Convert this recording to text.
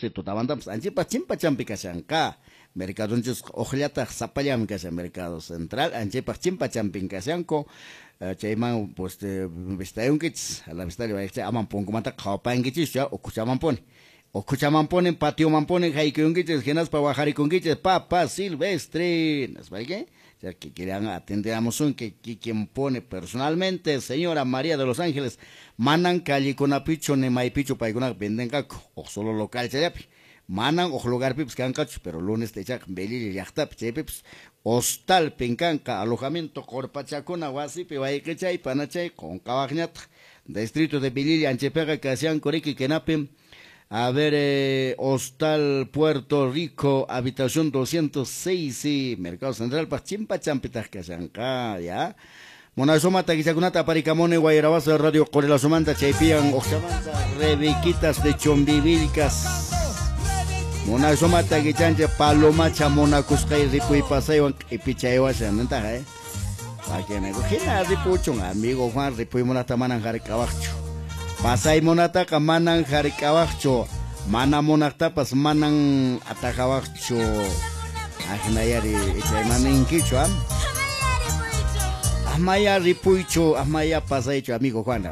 Tutamantapas anchaypaq chimpachampi kashanqa. Mercadonchisqa uqllataq sapallanmi kashan Mercado Central, anchaypaq chimpachampin kashanku. Chayman pues vistayunkichis, a la vistalla wayqichay, aman punkumanta qhawapankichischu, ukhuchamanpuni. Ukhuchamanpuni, patiomanpuni haykuyunkichis, hinaspa waqarikunkichis, Papa Silvestre, nispa, chay kikillan atenderamusunki kikinpuni personalmente, señora María de los Ángeles, manan callekunapichu ni maypichu paykunaqa vendenqaku, huk solo local chayapi. Manan huk lugarpipis kanqachu, pero lunes ichaqa Velilla llaqtapi chaypipis hostalpin kanqa alojamiento qorpachakuna wasipi wayqichay panachay qunqawaqñataq. Distrito de Velilla anchaypiqa kashanku riki kinapim. A ver, Hostal Puerto Rico, habitación 206, sí, Mercado Central, pa chimpachampitaj kashanqa, ya. Munasuma takichakunata aparikamuni Guayrabazo Radio Qorilasumanta chaypiyan uqchamanta Rebequitas de Chumbivilcas. Munasuma takichancha palomacha munakusqay ripuy pasaywan q'ipichaywashan nintaqa, Pakinayku hina ripuchun, amigo Juan, ripuy munaqta manan hark'awaqchu. Pasay munataqa manan hark'awaqchu, mana munaqtapas manan atajawaqchu. Ahinayari ichaymaninkichu, ah? Amaya ripuychu, amaya pasaychu, amigo Juan.